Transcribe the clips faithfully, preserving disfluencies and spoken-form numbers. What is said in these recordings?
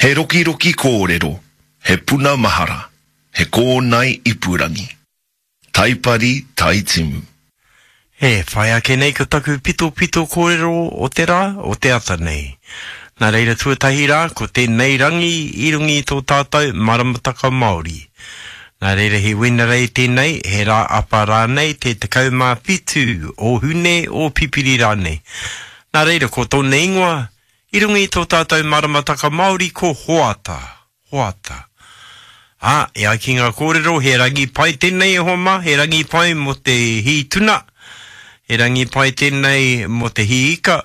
He rokiroki kōrero, he puna mahara, he kōnae ipurangi. Taipari Taitimu. E whai ake nei ko taku pitopito kōrero o te rā, o te ata nei. Nā reira tuatahi rā, ko tēnei rangi i runga i tō tātou maramataka Māori. Nā reira he Wenerei tēnei, he rā apa rānei, te tekau mā whitu o Hune, o Pipiri rānei. Nā reira ko tōna ingoa, i runga i tō tātou maramataka Māori ko Hoata. Hoata. Ā, e ai ki ngā kōrero, he rangi pai tēnei e hoa mā, he rangi pai mō te hī tuna, he rangi pai tēnei mō te hī ika,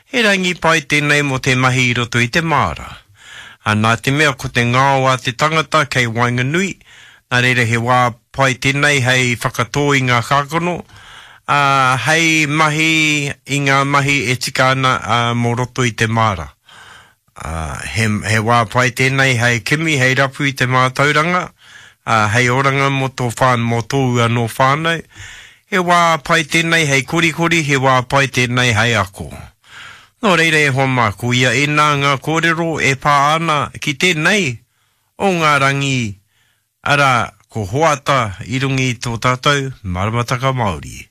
he rangi pai tēnei mō te mahi i roto i te māra. Ā, nā te mea ko te ngao a te tangata kei waenganui, nā reira he wā pai tēnei hei whakatō i ngā kākano, ā, hei mahi i ngā mahi e tika ana, ā, mō roto i te māra. Ā, he, he wā pai tēnei hei kimi, hei rapu i te mātauranga, ā, hei oranga mō tō whānau, mō tōu anō whānau. He wā pai tēnei hei korikori, he wā pai tēnei hei ako. Nō reira e hoa mā, ko ia ēnā ngā kōrero e pā ana ki tēnei o ngā rangi, arā, ko Hoata i runga i tō tātou maramataka Māori.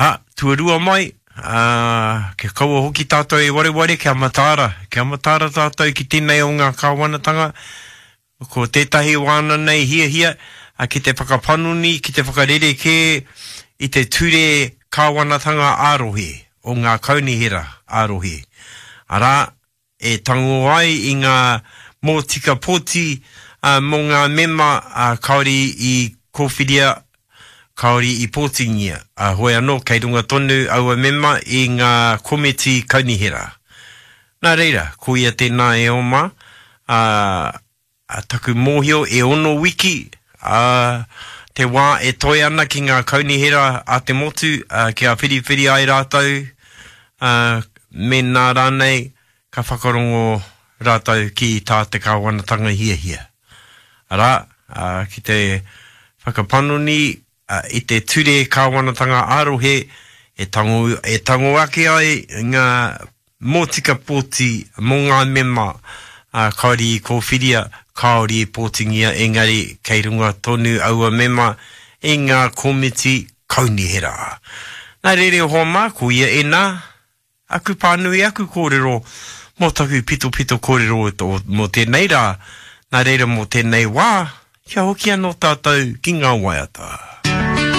Ā, tuarua mai, ā, kia kaua hoki tātou e wareware kia mataara, kia mataara tātou ki tēnei o ngā kāwanatanga, ko tētahi wāna nei hiahia ki te whakapanoni, ki te whakarerekē i te ture kāwanatanga ā-rohe, o ngā kaunihera ā-rohe. Arā, e tango ai i ngā mōtika pōti mō ngā mema kāore i kōwhiria, kāore i pōtingia, ā, hoi anō kei runga tonu aua mema i ngā komiti kaunihera. Nā reira, ko ia tēnā e oma, ā, taku mōhio e ono wiki, ā, te wā e toe ana ki ngā kaunihera a te motu, ā, kia whiriwhiri ai rātou, ā, mēnā rānei ka whakarongo rātou ki tā te kāwanatanga hiahia. Arā, ā, ki te whakapanoni i te ture kāwanatanga ā-rohe e tango, e tango ake ai ngā mōtika pōti mō ngā mema, ā, kāore i kōwhiria, kāore i pōtingia, engari kei runga tonu aua mema i ngā komiti kaunihera. Nā reira e hoa mā, ko ia ēnā, aku pānui, aku kōrero mō taku pitopito kōrero mō tēnei rā, nā reira mō tēnei wā, kia hoki anō tātou ki ngā waiata.